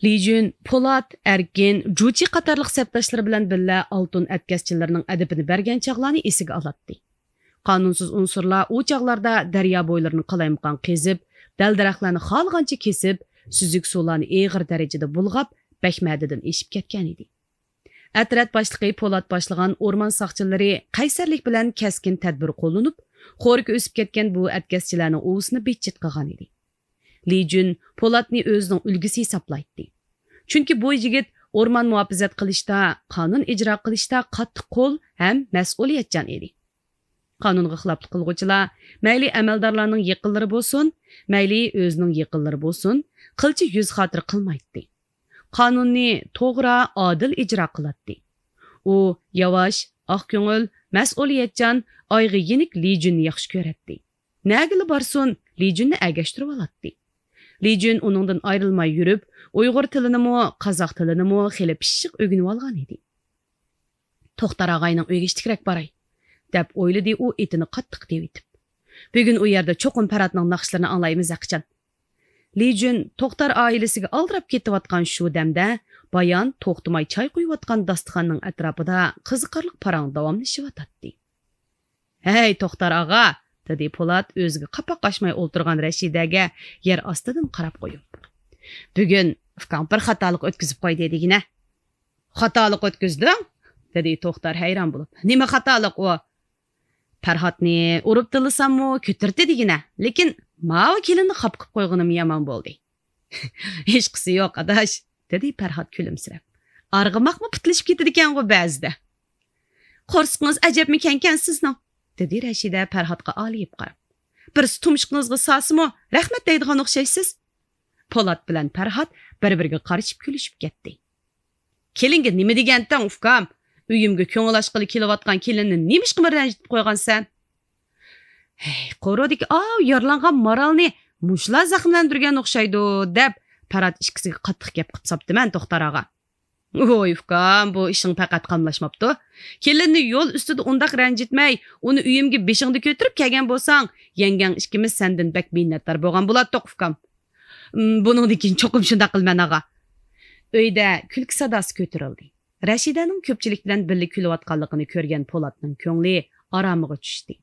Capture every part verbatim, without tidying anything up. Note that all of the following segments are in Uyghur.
لىجۈن، پولات، ئەركىن، جۇچى قاتارلىق سەپداشلىرى بىلەن بىللە ئالتۇن ئەتكەسچىلىرىنىڭ ئەدىپىنى بەرگەن چاغلارنى ئېسىگە ئالاتتى. قانۇنسىز ئۇنسۇرلار ئۇ چاغلاردا دەريا بويلىرىنى قالايمىقان قېزىپ، دەل-دەرەخلەرنى خالىغانچە كېسىپ، سۈزۈك سۇلارنى ئېغىر دەرىجىدە بۇلغاپ، بەك مەدىدىن ئېشىپ كەتكەنىدى. ئەترەت باشلىقى پولات باشلىغان ئورمان ساقچىلىرى قەيسەرلىك بىلەن كەسكىن تەدبىر قوللىنىپ، خورىكى ئۆسۈپ كەتكەن بۇ ئەتكەسچىلەرنىڭ ئۇۋىسىنى بىتچىت قىلغانىدى. لى جۈن پولاتنى ئۆزىنىڭ ئۈلگىسى ھېسابلايتتى. چۈنكى بۇ يىگىت ئورمان مۇھاپىزەت قىلىشتا، قانۇن ئىجرا قىلىشتا قاتتىق قول ھەم مەسئۇلىيەتچان ئىدى. قانۇنغا خىلاپلىق قىلغۇچىلار مەيلى ئەمەلدارلارنىڭ يېقىنلىرى بولسۇن، مەيلى ئۆزىنىڭ يېقىنلىرى بولسۇن، قىلچە يۈز خاتىرە قىلمايتتى. قانۇننى توغرا، ئادىل ئىجرا قىلاتتى. ئۇ ياۋاش، ئاق كۆڭۈل، مەسئۇلىيەتچان، ئايغا يېنىك لى جۈننى ياخشى كۆرەتتى. نەگىلا بارسۇن، لى جۈننى ئەگەشتۈرۈۋالاتتى. لى جۈن ئۇنىڭدىن ئايرىلماي يۈرۈپ، ئۇيغۇر تىلىنىمۇ، قازاق تىلىنىمۇ خېلى پىششىق ئۆگىنىۋالغان ئىدى. توختار ئاغاينىڭ ئۆيىگە ئىچكىرەك باراي، دەپ ئويلىدى ئۇ ئېتىنى قاتتىق تېۋىتىپ. بۈگۈن ئۇ يەردە چوقۇم پەرھاتنىڭ ناخشىلىرىنى ئاڭلايمىز ھەقىچان. لى جۈن توختار ئائىلىسىگە ئالدىراپ كېتىۋاتقان شۇ دەمدە بايان توختىماي چاي قۇيۇۋاتقان داستىخاننىڭ ئەتراپىدا قىزىقارلىق پاراڭ داۋاملىشىۋاتاتتى. ھەي، توختار ئاغا، دېدى پولات ئۆزىگە قاپاق ئاچماي ئولتۇرغان رەشىدەگە يەر ئاستىدىن قاراپ قويۇپ. بۈگۈن ئۇكاڭ بىر خاتالىق ئۆتكۈزۈپ قويدى دېگىنە. خاتالىق ئۆتكۈزدۈڭ؟ دېدى توختار ھەيران بولۇپ. نېمە خاتالىق ئۇ؟ پەرھاتنى ئۇرۇپ تىللىساممۇ كۆتۈرتتى دېگىنە. لېكىن ماۋۇ كېلىننى خاپا قىلىپ قويغىنىم يامان بولدى. ھېچقىسى يوق، ئاداش، دېدى پەرھات كۈلۈمسىرەپ. ئارغىماقمۇ پۇتلىشىپ كېتىدىكەنغۇ بەزىدە. قورسىقىڭىز ئەجەبمۇ كەڭكەن سىزنىڭ، دېدى رەشىدە پەرھاتقا ئالىيىپ قاراپ. بىرسى تۇمشۇقىڭىزغا سالسىمۇ رەھمەت دەيدىغان ئوخشايسىز. پولات بىلەن پەرھات بىر-بىرىگە قارىشىپ كۈلۈشۈپ كەتتى. كېلىنگە نېمە دېگەنتىڭ، ئۇكام؟ ئۆيۈمگە كۆڭۈل ئاچقىلى كېلىۋاتقان كېلىننى نېمىشقىمۇ رەنجىتىپ قويغانسەن؟ ھەي، قورۇدىكى ئاۋۇ يارىلانغان مارالنى مۇشۇلار زەخىملەندۈرگەن ئوخشايدۇ، دەپ پەرھات ئىككىسىگە قاتتىق گەپ قىلىپ ساپتىمەن، توختار ئاغا. ۋوي ئۇكام، بۇ ئىشىڭ پەقەت قاملاشماپتۇ. كېلىننى يول ئۈستىدە ئۇنداق رەنجىتمەي، ئۇنى ئۆيۈمگە بېشىڭدا كۆتۈرۈپ كەلگەن بولساڭ، يەڭگەڭ ئىككىمىز سەندىن بەك مىننەتدار بولغان بولاتتۇق، ئۇكام. ئىم، بۇنىڭدىن كېيىن چوقۇم شۇنداق قىلىمەن، ئاغا. ئۆيدە كۈلكە ساداسى كۆتۈرۈلدى. رەشىدەنىڭ كۆپچىلىك بىلەن بىللە كۈلۈۋاتقانلىقىنى كۆرگەن پولاتنىڭ كۆڭلى ئارامىغا چۈشتى.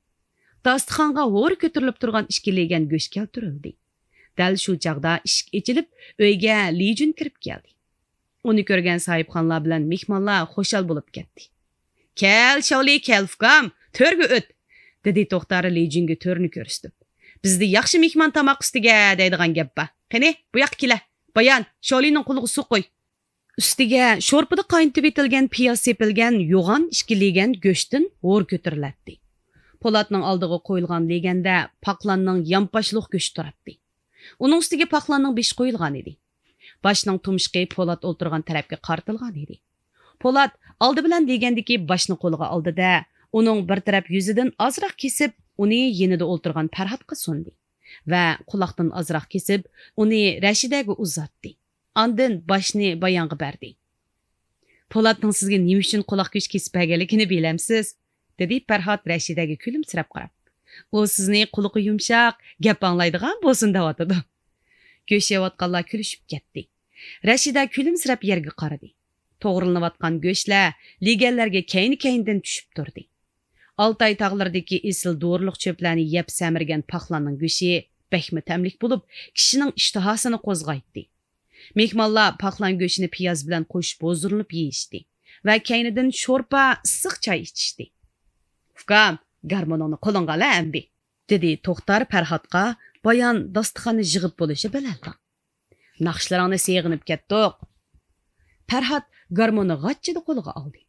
داستىخانغا ھورا كۆتۈرۈلۈپ تۇرغان ئىككى لېگەن گۆش كەلتۈرۈلدى. دەل شۇ چاغدا ئىشىك ئېچىلىپ، ئۆيگە لى جۈن كىرىپ كەلدى. ئۇنى كۆرگەن ساھىبخانلار بىلەن مېھمانلار خۇشال بولۇپ كەتتى. كەل، شاۋلى، كەل، ئۇكام، تۆرگە ئۆت، دېدى توختار لى جۈنگە تۆرنى كۆرسىتىپ. بىزدە ياخشى مېھمان تاماق ئۈستىگە دەيدىغان گەپ بار. قېنى، بۇ ياققا كېلە. بايان، شاۋلىنىڭ قولىغا سۇ قۇي. ئۈستىگە شورپىدا قاينىتىۋېتىلگەن پىياز سېپىلگەن يوغان ئىككى لېگەن گۆشتىن ھور كۆتۈرۈلەتتى. پولاتنىڭ ئالدىغا قويۇلغان لېگەندە پاقلاننىڭ يانپاشلىق گۆشى تۇراتتى. ئۇنىڭ ئۈستىگە پاقلاننىڭ بېشى قويۇلغان ئىدى. باشنىڭ تۇمشۇقى پولات ئولتۇرغان تەرەپكە قارىتىلغان ئىدى. پولات ئالدى بىلەن لېگەندىكى باشنى قولىغا ئالدى-دە، ئۇنىڭ بىر تەرەپ يۈزىدىن ئازراق كېسىپ، ئۇنى يېنىدا ئولتۇرغان پەرھاتقا سۇندى ۋە قۇلاقتىن ئازراق كېسىپ، ئۇنى رەشىدەگە ئۇزاتتى. ئاندىن باشنى بايانغا بەردى. پولاتنىڭ سىزگە نېمە ئۈچۈن قۇلاق گۆشى كېسىپ بەرگەنلىكىنى بىلەمسىز؟ دېدى پەرھات رەشىدەگە كۈلۈمسىرەپ قاراپ. ئۇ سىزنى قۇلىقى يۇمشاق، گەپ ئاڭلايدىغان بولسۇن دەۋاتىدۇ. گۆش يەۋاتقانلار كۈلۈشۈپ كەتتى. رەشىدە كۈلۈمسىرەپ يەرگە قارىدى. توغرىلىنىۋاتقان گۆشلەر لېگەنلەرگە كەينى-كەينىدىن چۈشۈپ تۇردى. ئالتاي تاغلىرىدىكى ئېسىل دورىلىق چۆپلەرنى يەپ سەمرىگەن پاقلاننىڭ گۆشى بەكمۇ تەملىك بولۇپ، كىشىنىڭ ئىشتىھاسىنى قوزغايتتى. مېھمانلار پاقلان گۆشىنى پىياز بىلەن قوشۇپ ھۇزۇرلىنىپ يېيىشتى ۋە كەينىدىن شورپا، ئىسسىق چاي ئىچىشتى. ئۇكام، گارمونۇڭنى قولۇڭغا ئال ئەمدى، دېدى توختار پەرھاتقا بايان داستىخاننى يىغىپ بولۇشى بىلەنلا. ناخشىلىرىڭنى سېغىنىپ كەتتۇق. پەرھات گارموننى غاچچىدە قولىغا ئالدى.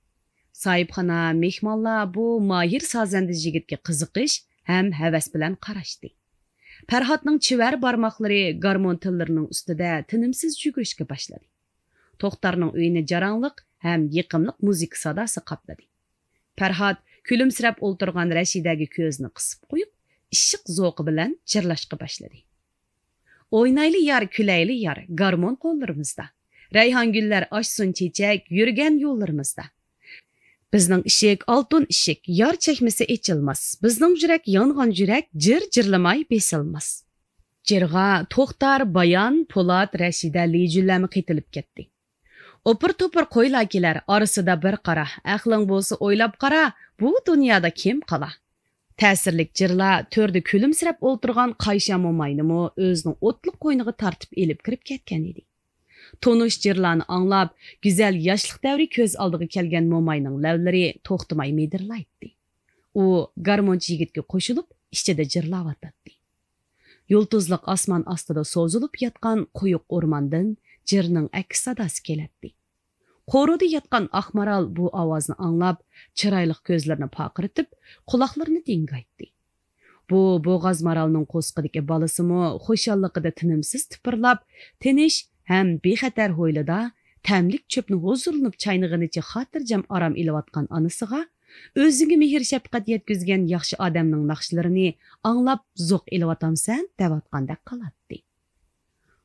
ساھىبخانا، مېھمانلار بۇ ماھىر سازەندە يىگىتكە قىزىقىش ھەم ھەۋەس بىلەن قاراشتى. پەرھاتنىڭ چېۋەر بارماقلىرى گارمون تېللىرىنىڭ ئۈستىدە تىنىمسىز يۈگۈرۈشكە باشلىدى. توختارنىڭ ئۆيىنى جاراڭلىق ھەم يېقىملىق مۇزىكا ساداسى قاپلىدى. پەرھات كۈلۈمسىرەپ ئولتۇرغان رەشىدەگە كۆزىنى قىسىپ قويۇپ، ئىشق زوقى بىلەن جىرلاشقا باشلىدى. ئوينايلى يار، كۈلەيلى يار، گارمون قوللىرىمىزدا. رەيھان گۈللەر ئاچسۇن چېچەك يۈرگەن يوللىرىمىزدا. بىزنىڭ ئىشىك ئالتۇن ئىشىك، يار چەكمىسە ئېچىلماس. بىزنىڭ يۈرەك يانغان يۈرەك، جىر جىرلىماي بېسىلماس. جىرغا توختار، بايان، پولات، رەشىدە، لىجۈنلەرمۇ قېتىلىپ كەتتى. ئوپۇر-توپۇر قويلار كېلەر، ئارىسىدا بىر قارا، ئەقلىڭ بولسا ئويلاپ قارا، بۇ دۇنيادا كىم قالا؟ تەسىرلىك جىرلار تۆردە كۈلۈمسىرەپ ئولتۇرغان قايشا موماينىمۇ ئۆزىنىڭ ئوتلۇق قوينىغا تارتىپ ئېلىپ كىرىپ كەتكەن ئىدى. تونۇش جىرلارنى ئاڭلاپ، گۈزەل ياشلىق دەۋرى كۆز ئالدىغا كەلگەن موماينىڭ لەۋلىرى توختىماي مىدىرلايتتى. ئۇ گارمونچى يىگىتكە قوشۇلۇپ، ئىچىدە جىرلاۋاتاتتى. يۇلتۇزلۇق ئاسمان ئاستىدا سوزۇلۇپ ياتقان قويۇق ئورماندىن جىرنىڭ ئەكس ساداسى كېلەتتى. قورۇدا ياتقان ئاق مارال بۇ ئاۋازنى ئاڭلاپ، چىرايلىق كۆزلىرىنى پارقىرىتىپ، قۇلاقلىرىنى دىڭگايتتى. بۇ بوغاز مارالنىڭ قورسىقىدىكى بالىسىمۇ خۇشاللىقىدا تىنىمسىز تىپىرلاپ، تىنچ ھەم بىخەتەر ھويلىدا تەملىك چۆپنى ھۇزۇرلىنىپ چاينىغىنىچە خاتىرجەم ئارام ئېلىۋاتقان ئانىسىغا، ئۆزۈڭگە مېھىر-شەپقەت يەتكۈزگەن ياخشى ئادەمنىڭ ناخشىلىرىنى ئاڭلاپ زوق ئېلىۋاتامسەن؟ دەۋاتقاندەك قىلاتتى.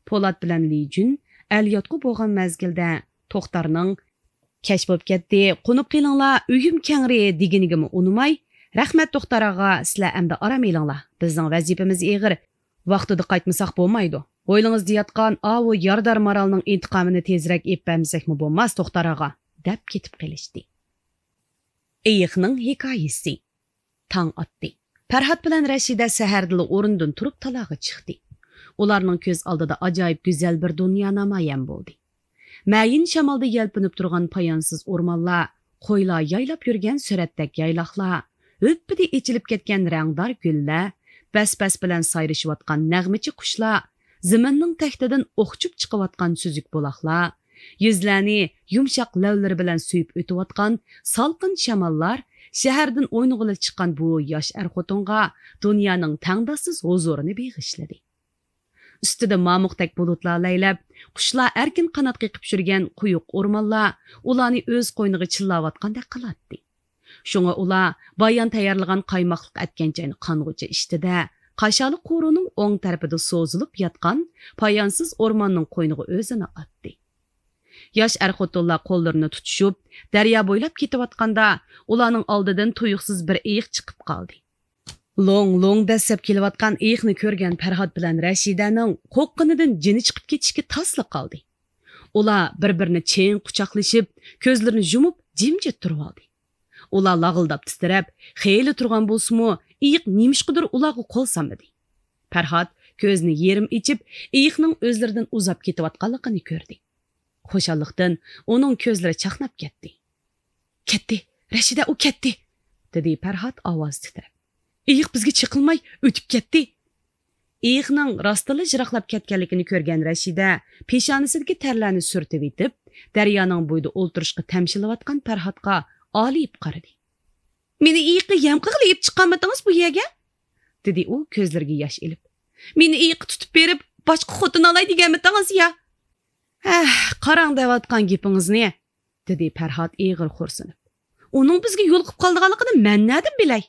پولات بىلەن لىجۈن ئەل-ياتقۇ بولغان مەزگىلدە توختارنىڭ «كەچ بولۇپ كەتتى، قونۇپ قېلىڭلار، ئۆيۈم كەڭرى» دېگىنىگىمۇ ئۇنىماي، «رەھمەت، توختار ئاغا، سىلەر ئەمدى ئارام ئېلىڭلار، بىزنىڭ ۋەزىپىمىز ئېغىر، ۋاقتىدا قايتمىساق بولمايدۇ. ھويلىڭىزدا ياتقان ئاۋۇ يارىدار مارالنىڭ ئىنتىقامىنى تېزرەك ئېلىپ بەرمىسەكمۇ بولماس، توختار ئاغا» دەپ كېتىپ قېلىشتى. ئېيىقنىڭ ھېكايىسى. تاڭ ئاتتى. پەرھات بىلەن رەشىدە سەھەردىلا ئورنىدىن تۇرۇپ تالاغا چىقتى. ئۇلارنىڭ كۆز ئالدىدا ئاجايىپ گۈزەل بىر دۇنيا نامايان بولدى. مەيىن شامالدا يەلپۈنۈپ تۇرغان پايانسىز ئورمانلار، قويلار يايلاپ يۈرگەن سۈرەتتەك يايلاقلار، ھۈپپىدە ئېچىلىپ كەتكەن رەڭدار گۈللەر، بەس-بەس بىلەن سايرىشىۋاتقان نەغمىچى قۇشلار، زېمىننىڭ تەكتىدىن ئوخچۇپ چىقىۋاتقان سۈزۈك بۇلاقلار، يۈزلەرنى يۇمشاق لەۋلىرى بىلەن سۆيۈپ ئۆتۈۋاتقان سالقىن شاماللار شەھەردىن ئوينىغىلى چىققان بۇ ياش ئەر-خوتۇنغا دۇنيانىڭ تەڭداشسىز ھۇزۇرىنى بېغىشلىدى. ئۈستىدە مامۇقتەك بۇلۇتلار لەيلەپ، قۇشلار ئەركىن قانات قېقىپ يۈرگەن قويۇق ئورمانلار ئۇلارنى ئۆز قوينىغا چىللاۋاتقاندەك قىلاتتى. شۇڭا ئۇلار بايان تەييارلىغان قايماقلىق ئەتكەنچاينى قانغۇچە ئىچتى-دە، قاشالى قورۇنىڭ ئوڭ تەرىپىدە سوزۇلۇپ ياتقان پايانسىز ئورماننىڭ قوينىغا ئۆزىنى ئاتتى. ياش ئەر-خوتۇنلار قوللىرىنى تۇتۇشۇپ، دەريا بويلاپ كېتىۋاتقاندا، ئۇلارنىڭ ئالدىدىن تۇيۇقسىز بىر ئېيىق چىقىپ قالدى. لوڭ-لوڭ دەسسەپ كېلىۋاتقان ئېيىقنى كۆرگەن پەرھات بىلەن رەشىدەنىڭ قورققىنىدىن جېنى چىقىپ كېتىشكە تاسلا قالدى. ئۇلار بىر-بىرىنى چىڭ قۇچاقلىشىپ، كۆزلىرىنى يۇمۇپ، جىمجىت تۇرۇۋالدى. ئۇلار لاغىلداپ تىترەپ، خېلى تۇرغان بولسىمۇ، ئېيىق نېمىشقىدۇر ئۇلارغا قول سالمىدى. پەرھات كۆزىنى يېرىم ئېچىپ، ئېيىقنىڭ ئۆزلىرىدىن ئۇزاپ كېتىۋاتقانلىقىنى كۆردى. خۇشاللىقتىن ئۇنىڭ كۆزلىرى چاقناپ كەتتى. «كەتتى، رەشىدە، ئۇ كەتتى!» دېدى پەرھات ئاۋازى تىترەپ. «ئېيىق بىزگە چېقىلماي ئۆتۈپ كەتتى!» ئېيىقنىڭ راستتىنلا يىراقلاپ كەتكەنلىكىنى كۆرگەن رەشىدە پېشانىسىدىكى تەرلەرنى سۈرتۈۋېتىپ، دەريانىڭ بويىدا ئولتۇرۇشقا تەمشىلىۋاتقان پەرھاتقا ئالىيىپ قارىدى. «مېنى ئېيىققا يەم قىلغىلى ئېلىپ چىققانمىتىڭىز بۇ يەرگە؟» دېدى ئۇ كۆزلىرىگە ياش ئېلىپ. «مېنى ئېيىققا تۇتۇپ بېرىپ، باشقا خوتۇن ئالاي دېگەنمىتىڭىز يا؟» «ھەھ، قاراڭ دەۋاتقان گېپىڭىزنى!» دېدى پەرھات ئېغىر خورسىنىپ. «ئۇنىڭ بىزگە يولۇقۇپ قالىدىغانلىقىنى مەن نەدىن بىلەي؟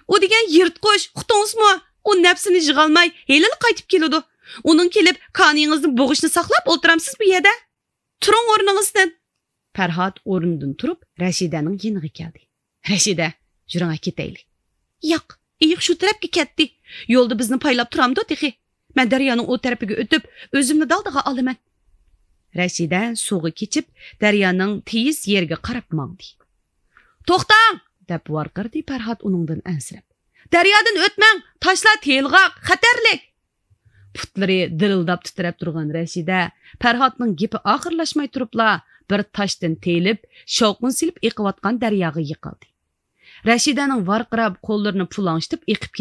ئۇ دېگەن يىرتقۇچ، ئۇقتىڭىزمۇ؟ ئۇ نەپسىنى يىغالماي، ھېلىلا قايتىپ كېلىدۇ. ئۇنىڭ كېلىپ كانىيىڭىزنى بوغۇشىنى ساقلاپ ئولتۇرامسىز بۇ يەردە؟ تۇرۇڭ ئورنىڭىزدىن!» پەرھات ئورنىدىن تۇرۇپ، رەشىدەنىڭ يېنىغا كەلدى. «رەشىدە، يۈرۈڭە كېتەيلى.» «ياق، ئېيىق شۇ تەرەپكە كەتتى. يولدا بىزنى پايلاپ تۇرامدۇ تېخى؟ مەن دەريانىڭ ئۇ تەرىپىگە ئۆتۈپ، ئۆزۈمنى دالدىغا ئالىمەن.» رەشىدە سۇغا كېچىپ، دەريانىڭ تېيىز يېرىگە قاراپ ماڭدى. «توختاڭ!» دەپ ۋارقىرىدى پەرھات ئۇنىڭدىن ئەنسىرەپ. «دەريادىن ئۆتمەڭ! تاشلار تېلىغاق، خەتەرلىك!» پۇتلىرى دىرىلداپ تىترەپ تۇرغان رەشىدە پەرھاتنىڭ گېپى ئاخىرلاشماي تۇرۇپلا بىر تاشتىن تېيىلىپ، شاۋقۇن سېلىپ ئېقىۋاتقان دەرياغا يىقىلدى. رەشىدەنىڭ ۋارقىراپ، قوللىرىنى پۇلاڭشىتىپ ئېقىپ